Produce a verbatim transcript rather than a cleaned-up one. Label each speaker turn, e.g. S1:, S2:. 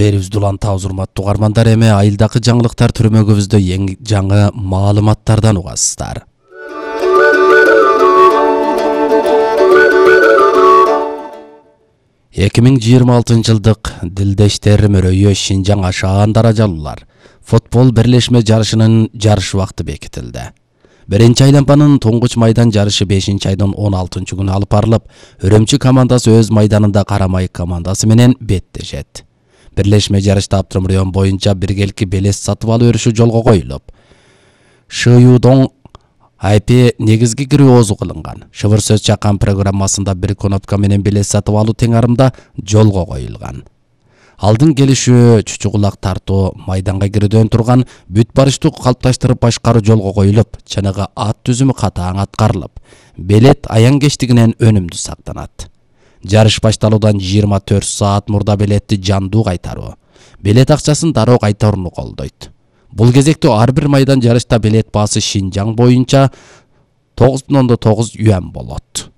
S1: Берибизди улантабыз, урматтуу угармандар. Эми айылдагы жаңылыктар түрмөгүбүздө эң жаңы маалыматтардан угасыздар. эки миң жыйырма алтынчы жылдык Дилдештер мөрөйү Шинжаң ашаан даражалуулар футбол бирлешме жарышынын жарыш убакыты бекитилди. Биринчи айлампанын туңгуч майдан жарышы бешинчи айдын он алтынчы күнү алып барылып, Өрөмчү командасы өз майданында Карамай командасы менен беттешет. Бирлешме жарышта Абдырым район боюнча биргеликки белес сатып алуу өрүшү жолго коюлуп, ШЮдон ай пи негизги кирүүозу кылынган. Шыбыр сөз чакан программасында бир кнопка менен белес сатып алуу теңарымда жолго коюлган. Алдын келишүү, чучугулак тартуу, майданга кирүүдөн турган бүт барыштуу калыпташтырып башкаруу жолго коюлуп, чыныгы ат түзүмү катаң аткарылып, белет аян кечтигинен өнүмдүү сактанат. Жарыш башталуудан жыйырма төрт саат мурда белетти жандуу кайтаруу, белет акчасын дароо кайтарууну колдойт. Бул кезекте ар бир майдан жарышта белет баасы Шинжаң боюнча тогуз бүтүн ондон тогуз юан болот.